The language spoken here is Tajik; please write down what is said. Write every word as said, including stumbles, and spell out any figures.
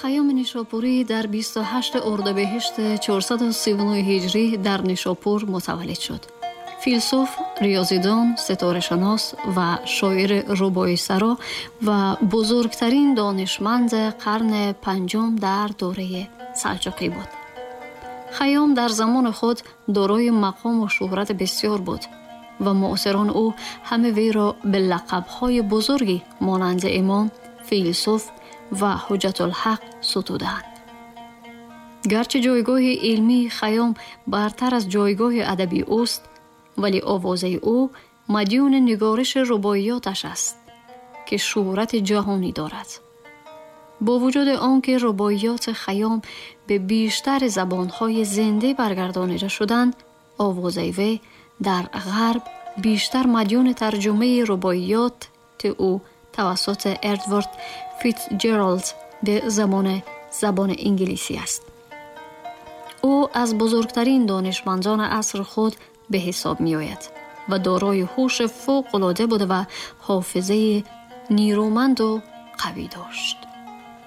Хайёми Нишопурӣ дар бисту ҳашт урдибеҳишт чорсаду сию нӯҳ ҳиҷрӣ дар Нишопур мутаваллид шуд. Филсуф, риёзидон, ситорашинос ва шоири рубоисаро ва бузургтарин донишманди қарни панҷум дар давраи салҷуқӣ буд. Хайём дар замони худ дорои мақому шӯҳрати бисёр буд ва муосирони ӯ ҳама вайро ба лақабҳои бузурге монанди имом, филсуф ва ҳуҷҷатулҳақ ситуданд. Гарчи ҷойгоҳи илмии Хайём бартар аз ҷойгоҳи адабии ӯст, вале овозаи ӯ мадюни нигориши рубоиёташ аст, ки шӯҳрати ҷаҳонӣ дорад. Бо вуҷуди он ки рубоиёти Хайём ба бештари забонҳои зинда баргардонида шуданд, овозаи вай дар ғарб бештар мадюни тарҷумаи рубоиёти ӯ тавассути Эдвард Фитсҷералд ба забони забони инглисӣ аст. Ӯ аз бузургтарин донишмандони асри худ ба ҳисоб меояд ва дорои ҳуши фавқулода буда ва ҳофизаи нерӯманду қавӣ дошт.